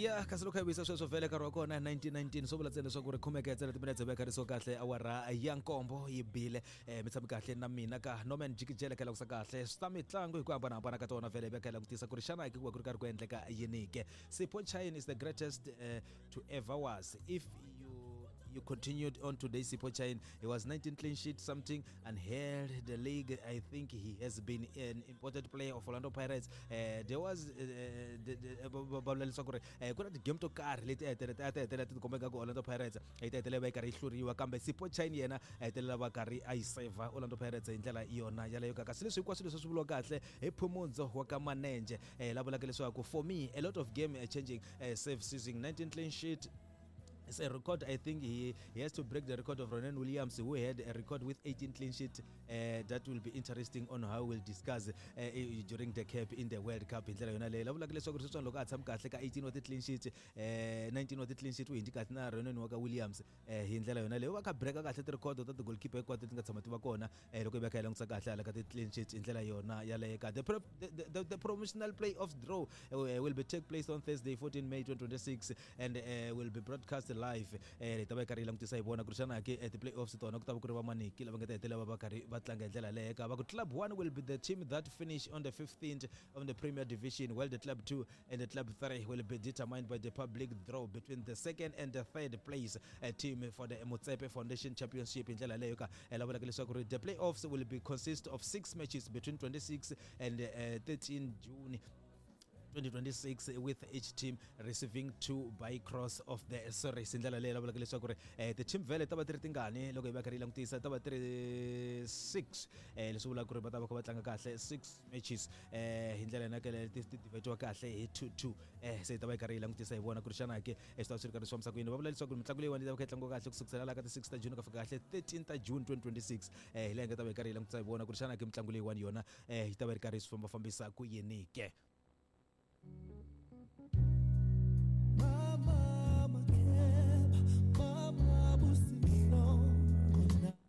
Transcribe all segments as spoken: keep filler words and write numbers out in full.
Ya kasi loko hi vuyisa sweswo vhele nkarhi wa kona nineteen nineteen swo vula ntsena leswaku ri khomeka ntsena timinetse veka ri so kahle awara ya nkombo yi bile. um mi tshami kahle na mina ka Norman Jikijele ka langutisa kahle swa mitlangu hi ku hambanahambana ka tona vhele veka langutisa ku ri xana ku va ku ri karhi ku endleka yini ke. Sipho Chaine is the greatest uh, to ever was. If you you continued on today, Sipho Chaine, he was nineteen clean sheet something and held the league. I think he has been an important player of Orlando Pirates. Uh, there was va vula leswaku ri ku na ti-game to karhi leti a hetelela a ti hetelela ti tikomba ku Orlando Pirates yi ta hetelela va yi karhi yi hluriwa, kambe Sipho Chaine yena a hetelela va karhi a yi save Orlando Pirates hi ndlela yona yaleyo. Ka kasi leswi hinkwaswo leswi swi vuriwa kahle hi Phumudzo wa ka Manenje, eh, la vulaka leswaku for me a lot of game changing uh, save season nineteen clean sheet. It's a record. I think he, he has to break the record of Ronan Williams, who had a record with eighteen clean sheet. Uh, that will be interesting on how we'll discuss uh, during the cap in the World Cup. Hi ndlela yona leyi la vulaka leswaku ri sweswiwani loko a tshami kahle ka eighteen wa ti-clean sheet, uh, nineteen wa ti-clean sheet u hindzi kahle na Ronan wa ka Williams. uh, hi ndlela yona leyi va kha breaka kahle ti-record ta ti-goalkeeper hinkwato leti nga tshama ti va kona uh, loko hi va kha hi langutisa kahle hala ka ti-clean sheet hi ndlela yona yaleyo. Ka the, the, the, the promotional playoffs draw uh, will be take place on Thursday fourteen May twenty twenty-six and uh, will be broadcast live. Eh hi ta va hi karhi hi langutisa hi vona ku ri xana ke ti-playoffs tona ku ta va ku ri va maniki lava nga ta hetelela va va karhi va tlanga hi ndlela leyo. Ka va ku club one will be the team that finish on the fifteenth of the Premier Division, while the club two and the club three will be determined by the public draw between the second and the third place uh, team for the Motsepe Foundation Championship. Hi ndlela leyo ka la vulaka leswaku ri the playoffs will be consist of six matches between twenty-six and uh, thirteen June twenty twenty-six, with each team receiving two by cross of the series. Ndlela leyi lavulaka leswaku ri eh, ti-team vhele ta va ti ri tingani loko hi va karhi yi langutisa ta va ti ri six, eh, leswi vulaka ku ri va ta va kha va tlanga kahle six matches eh, hi ndlela yona kele ti divide kahle hi two two. eh, se hi ta va hi karhi yi langutisa hi vona ku ri xana ke swi ta va swi ri karhi swi fambisa ku yini. Va vula leswaku mitlangu leyiwani yi ta va kha yi tlangiwa kahle ku sukusela laha ka ti six ta June ka fika kahle thirteen ta June twenty twenty-six. eh, hi leyi nga ta va hi karhi yi langutisa hi vona ku ri xana ke mitlangu leyiwani yona eh, yi ta va yi ri karhi swi fambafambisa ku yini ke.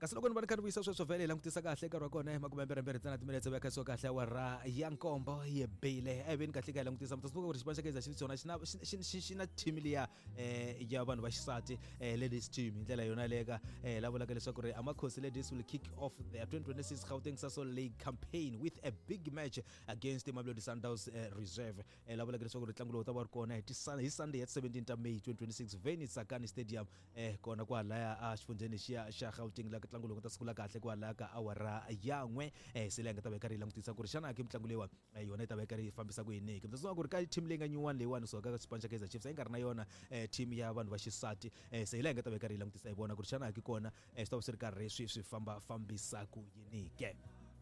Kasi loko ni va ni kha ni vuyisa sweswo vhele hi langutisa kahle nkarhi wa kona hi makumembirhimbirhi ntsena timinetse va kha kahle awara ya nkombo yi bile. A hi veni kahle ka hi langutisa mi ta swi ku ri xipano xa Kaizer Chiefs xona xi na xi na team liya eh ya vanhu va xisati eh ladies team hi ndlela yona leyo ka eh la vulaka leswaku ri Amakhosi ladies will kick off their twenty twenty-six Gauteng Sasol League campaign with a big match against the Mamelodi Sundowns uh, Reserve. Eh la vulaka leswaku ri ntlangu lowu ta va ri kona hi hi Sunday ya seventeen ta May twenty twenty-six venue Tsakani Stadium eh kona kwalaya a xifundzheni xiya xa Gauteng la ntlangu lowu ta sungula kahle kwalaya ka awara ya n'we. eh se leyi nga ta va yi karhi yi langutisa ku ri xana ke mitlangu leyiwani yona yi ta va yi karhi yi fambisa ku yini ke. Mi ta sungula ku ri ka team leyi nga nyuwani leyiwani so ka xipano xa Kaizer Chiefs a yi nga ri na yona team ya vanhu va xisati. eh se hi leyi nga ta va yi karhi yi langutisa hi vona ku ri xana ke kona swi ta va swi ri karhi swi swi famba fambisa ku yini ke.